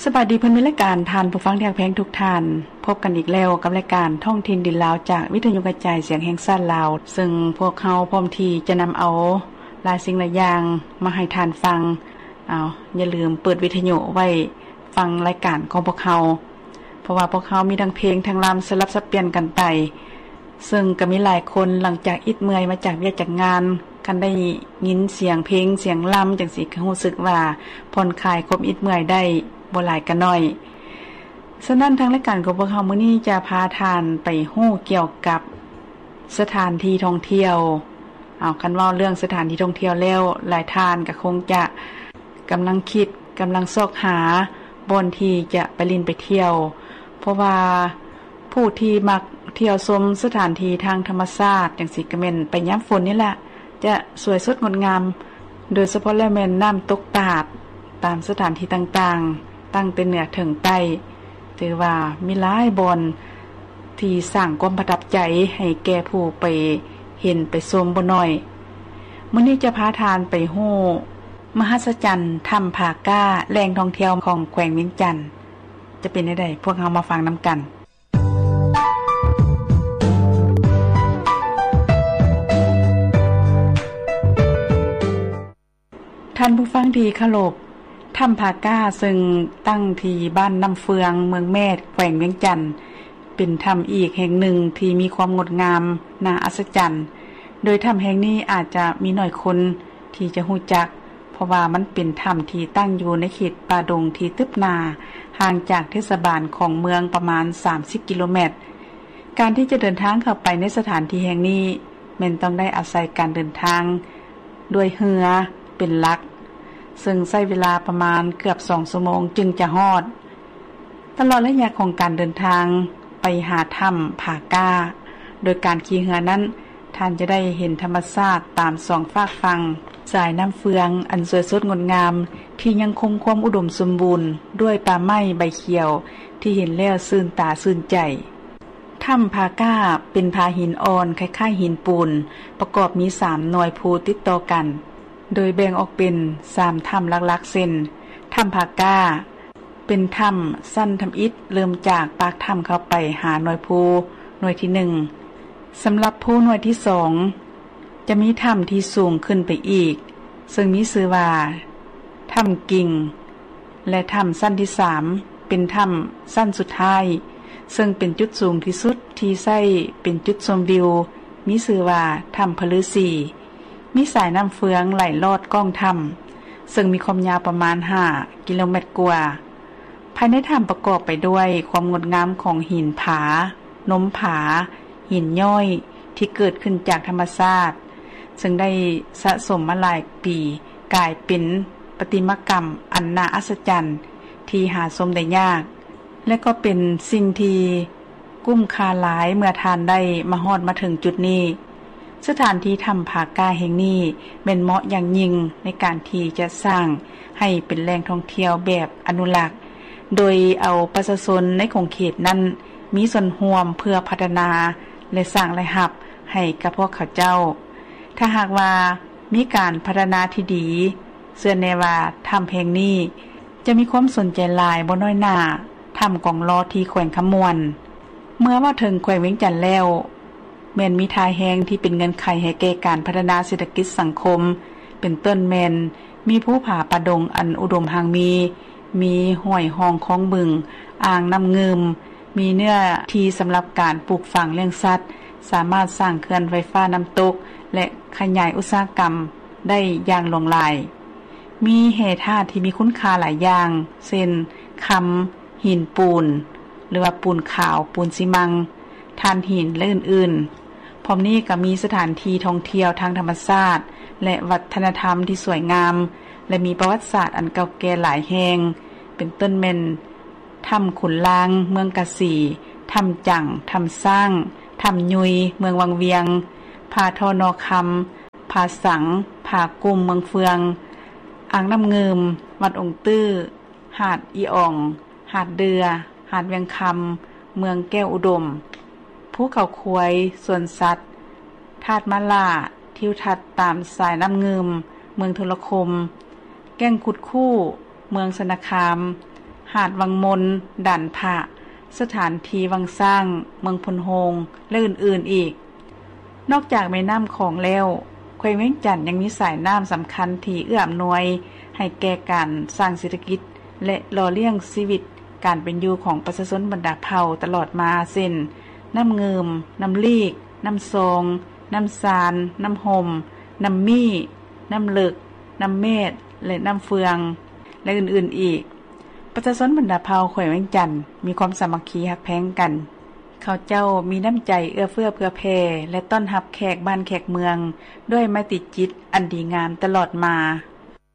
ສະບາຍດີເພື່ອນມິດລາຍການ, ທ່ານຜູ້ຟັງທີ່ຮັກແພງທຸກທ່ານ, ພົບກັນອີກແລ້ວກັບລາຍການທ້ອງຖິ່ນດິນລາວ ຈາກວິທະຍຸກະຈາຍສຽງແຫ່ງຊາດລາວ, ເຊິ່ງພວກເຮົາພ້ອມທີ່ຈະນຳເອົາຫຼາຍສິ່ງຫຼາຍຢ່າງມາໃຫ້ທ່ານຟັງ. ເອົາ, ຢ່າລືມເປີດວິທະຍຸໄວ້ຟັງລາຍການຂອງພວກເຮົາ, ເພາະວ່າພວກເຮົາມີທັງເພງທັງລຳສະຫຼັບສັບປ່ຽນກັນໄປ. ເຊິ່ງກໍມີຫຼາຍຄົນຫຼັງຈາກອິດເມື່ອຍມາຈາກວຽກຈາກງານ, ຄັນໄດ້ຍິນສຽງເພງສຽງລຳຈັ່ງຊີ້ ກໍຮູ້ສຶກວ່າຜ່ອນຄາຍຄວາມອິດເມື່ອຍໄດ້ບໍ່ຫຼາຍກໍໜ້ອຍ. ສະນັ້ນ ທາງລາຍການຂອງພວກເຮົາມື້ນີ້ຈະພາທ່ານໄປຮູ້ກ່ຽວກັບສະຖານທີ່ທ່ອງທ່ຽວ. ເອົາ, ຄັນເວົ້າເລື່ອງສະຖານທີ່ທ່ອງທ່ຽວແລ້ວ, ຫຼາຍທ່ານກໍຄົງຈະກຳລັງຄິດ, ກຳລັງຊອກຫາບ່ອນທີ່ຈະໄປຫຼິ້ນໄປທ່ຽວ, ເພາະວ່າຜູ້ທີ່ມັກທ່ຽວຊົມສະຖານທີ່ທາງທຳມະຊາດຈັ່ງຊີ້ ກໍແມ່ນໄປຍາມຝົນນີ້ລະ, ຈະສວຍສົດງົດງາມ, ໂດຍສະເພາະແລ້ວແມ່ນນ້ຳຕົກຕາດຕາມສະຖານທີ່ຕ່າງໆ, ຕັ້ງແຕ່ເໜືອເຖິງໃຕ້. ຖືວ່າມີຫຼາຍບ່ອນທີ່ສ້າງຄວາມປະທັບໃຈໃຫ້ແກ່ຜູ້ໄປເຫັນໄປຊົມບໍ່ໜ້ອຍ. ມື້ນີ້ຈະພາທ່ານໄປຮູ້ມະຫັດສະຈັນຖ້ຳຜາກ້າ, ແຫຼ່ງທ່ອງທ່ຽວຂອງແຂວງວຽງຈັນ. ຈະເປັນແນວໃດ? ພວກເຮົາມາຟັງນຳກັນ. ທ່ານຜູ້ຟັງທີ່ເຄົາລົບ, ຖ້ຳຜາກ້າເຊິ່ງຕັ້ງທີ່ບ້ານນ້ຳເຟືອງ, ເມືອງແມດ, ແຂວງວຽງຈັນ, ເປັນຖ້ຳອີກແຫ່ງໜຶ່ງທີ່ມີຄວາມງົດງາມໜ້າອັດສະຈັນ. ໂດຍຖ້ຳແຫ່ງນີ້ອາດຈະມີໜ້ອຍຄົນທີ່ຈະຮູ້ຈັກ, ເພາະວ່າມັນເປັນຖ້ຳທີ່ຕັ້ງຢູ່ໃນເຂດປ່າດົງທີ່ຕຶບໜາ, ຫ່າງຈາກເທດສະບານຂອງເມືອງປະມານສາມສິບກິໂລແມັດ. ການທີ່ຈະເດີນທາງເຂົ້າໄປໃນສະຖານທີ່ແຫ່ງນີ້ ແມ່ນຕ້ອງໄດ້ອາໄສການເດີນທາງດ້ວຍເຮືອເປັນຫຼັກ, ເຊິ່ງໃຊ້ເວລາປະມານເກືອບສອງຊົ່ວໂມງຈຶ່ງຈະຮອດ. ຕະຫຼອດໄລຍະຂອງການເດີນທາງໄປຫາຖ້ຳຜາກ້າ ໂດຍການຂີ່ເຮືອນັ້ນ, ທ່ານຈະໄດ້ເຫັນທຳມະຊາດຕາມສອງຟາກຝັ່ງສາຍນ້ຳເຟືອງອັນສວຍສົດງົດງາມ ທີ່ຍັງຄົງຄວາມອຸດົມສົມບູນດ້ວຍປ່າໄມ້ໃບຂຽວ ທີ່ເຫັນແລ້ວຊື່ນຕາຊື່ນໃຈ. ຖ້ຳຜາກ້າເປັນຜາຫີນອ່ອນຄ້າຍໆຫີນປູນ, ປະກອບມີສາມໜ່ວຍພູຕິດຕໍ່ກັນ, ໂດຍແບ່ງອອກເປັນສາມຖ້ຳຫຼັກໆ ເຊັ່ນ ຖ້ຳຜາກ້າ ເປັນຖ້ຳຊັ້ນທຳອິດ, ເລີ່ມຈາກປາກຖ້ຳເຂົ້າໄປຫາໜ່ວຍພູໜ່ວຍທີໜຶ່ງ. ສຳລັບພູໜ່ວຍທີສອງ ຈະມີຖ້ຳທີ່ສູງຂຶ້ນໄປອີກ, ເຊິ່ງມີຊື່ວ່າຖ້ຳກິ່ງ ແລະ ຖ້ຳຊັ້ນທີສາມ ເປັນຖ້ຳຊັ້ນສຸດທ້າຍ, ເຊິ່ງເປັນຈຸດສູງທີ່ສຸດທີ່ໃຊ້ເປັນຈຸດຊົມວິວ, ມີຊື່ວ່າຖ້ຳພະລືສີ. ມີສາຍນ້ຳເຟືອງໄຫຼລອດກ້ອງຖ້ຳ, ເຊິ່ງມີຄວາມຍາວປະມານຫ້າກິໂລແມັດກວ່າ. ພາຍໃນຖ້ຳປະກອບໄປດ້ວຍຄວາມງົດງາມຂອງຫີນຜາ, ນົມຜາ, ຫີນຍ້ອຍທີ່ເກີດຂຶ້ນຈາກທຳມະຊາດ, ເຊິ່ງໄດ້ສະສົມມາຫຼາຍປີ, ກາຍເປັນປະຕິມາກຳອັນໜ້າອັດສະຈັນທີ່ຫາຊົມໄດ້ຍາກ, ແລະ ກໍເປັນສິ່ງທີ່ ຄຸ້ມຄ່າຫຼາຍເມື່ອທ່ານໄດ້ມາຮອດມາເຖິງຈຸດນີ້. ສະຖານທີ່ຖ້ຳຜາກ້າແຫ່ງນີ້ແມ່ນເໝາະຢ່າງຍິ່ງໃນການທີ່ຈະສ້າງໃຫ້ເປັນແຫຼ່ງທ່ອງທ່ຽວແບບອະນຸລັກ, ໂດຍເອົາປະຊາຊົນໃນຂົງເຂດນັ້ນມີສ່ວນຮ່ວມເພື່ອພັດທະນາ ແລະ ສ້າງລາຍຮັບໃຫ້ກັບພວກເຂົາເຈົ້າ. ຖ້າຫາກວ່າມີການພັດທະນາທີ່ດີ, ເຊື່ອແນ່ວ່າຖ້ຳແຫ່ງນີ້ ຈະມີຄວາມສົນໃຈຫຼາຍບໍ່ນ້ອຍໜ້າຖ້ຳກອງຫຼໍ່ທີ່ແຂວງຄຳມ່ວນ. ເມື່ອເວົ້າເຖິງແຂວງວຽງຈັນແລ້ວ, ແມ່ນມີທ່າແຮງທີ່ເປັນເງື່ອນໄຂໃຫ້ແກ່ການພັດທະນາເສດຖະກິດສັງຄົມ, ເປັນຕົ້ນແມ່ນມີພູຜາປ່າດົງອັນອຸດົມຮັ່ງມີ, ມີຫ້ວຍຮ່ອງຄອງບຶງ, ອ່າງນ້ຳງື່ມ, ມີເນື້ອທີ່ສຳລັບການປູກຝັງລ້ຽງສັດ, ສາມາດສ້າງເຂື່ອນໄຟຟ້ານ້ຳຕົກ ແລະ ຂະຫຍາຍອຸດສາຫະກຳໄດ້ຢ່າງຫຼວງຫຼາຍ. ມີແຮ່ທາດທີ່ມີຄຸນຄ່າຫຼາຍຢ່າງ ເຊັ່ນ ຄຳ, ຫີນປູນ ຫຼືວ່າປູນຂາວ, ປູນຊີມັງ, ຖ່ານຫີນ ແລະ ອື່ນໆ. ພ້ອມນີ້ກໍມີສະຖານທີ່ທ່ອງທ່ຽວທາງທຳມະຊາດ ແລະ ວັດທະນະທຳທີ່ສວຍງາມ ແລະ ມີປະຫວັດສາດອັນເກົ່າແກ່ຫຼາຍແຫ່ງ, ເປັນຕົ້ນແມ່ນ ຖ້ຳຂຸນລາງ ເມືອງກາສີ, ຖ້ຳຈັງ, ຖ້ຳຊ້າງ, ຖ້ຳຍຸຍ ເມືອງວັງວຽງ, ຜາທໍ່ໜໍ່ຄຳ, ຜາສັງ, ຜາກຸ້ມ ເມືອງເຟືອງ, ອ່າງນ້ຳງື່ມ ວັດອົງຕື້, ຫາດອີອອງ, ຫາດເດື່ອ, ຫາດວຽງຄຳ ເມືອງແກ້ວອຸດົມ, ພູເຂົາຄວາຍ ສວນສັດ, ທາດມ້າຫຼ້າ, ທິວທັດຕາມສາຍນ້ຳງື່ມ ເມືອງທຸລະຄົມ, ແກ້ງຄຸດຄູ້ ເມືອງຊະນະຄາມ, ຫາດວັງມົນ, ດ່ານພະ, ສະຖານທີ່ວັງຊ້າງ, ເມືອງໂພນໂຮງ ແລະ ອື່ນໆອີກ. ນອກຈາກແມ່ນ້ຳຂອງແລ້ວ, ແຂວງວຽງຈັນຍັງມີສາຍນ້ຳສຳຄັນທີ່ເອື້ອອຳນວຍໃຫ້ແກ່ການສ້າງເສດຖະກິດ ແລະ ຫຼໍ່ລ້ຽງຊີວິດການເປັນຢູ່ຂອງປະຊາຊົນບັນດາເຜົ່າຕະຫຼອດມາ ເຊັ່ນ ນ້ຳງື່ມ, ນ້ຳລີກ, ນ້ຳຊອງ, ນ້ຳຊານ, ນ້ຳຫົ່ມ, ນ້ຳມີ້, ນ້ຳເລິກ, ນ້ຳແມດ ແລະ ນ້ຳເຟືອງ ແລະ ອື່ນໆອີກ. ປະຊາຊົນບັນດາເຜົ່າແຂວງວຽງຈັນມີຄວາມສາມັກຄີຮັກແພງກັນ. ເຂົາເຈົ້າມີນ້ຳໃຈເອື້ອເຟື້ອເຜື່ອແຜ່ ແລະ ຕ້ອນຮັບແຂກບ້ານແຂກເມືອງດ້ວຍໄມຕີຈິດອັນດີງາມຕະຫຼອດມາ.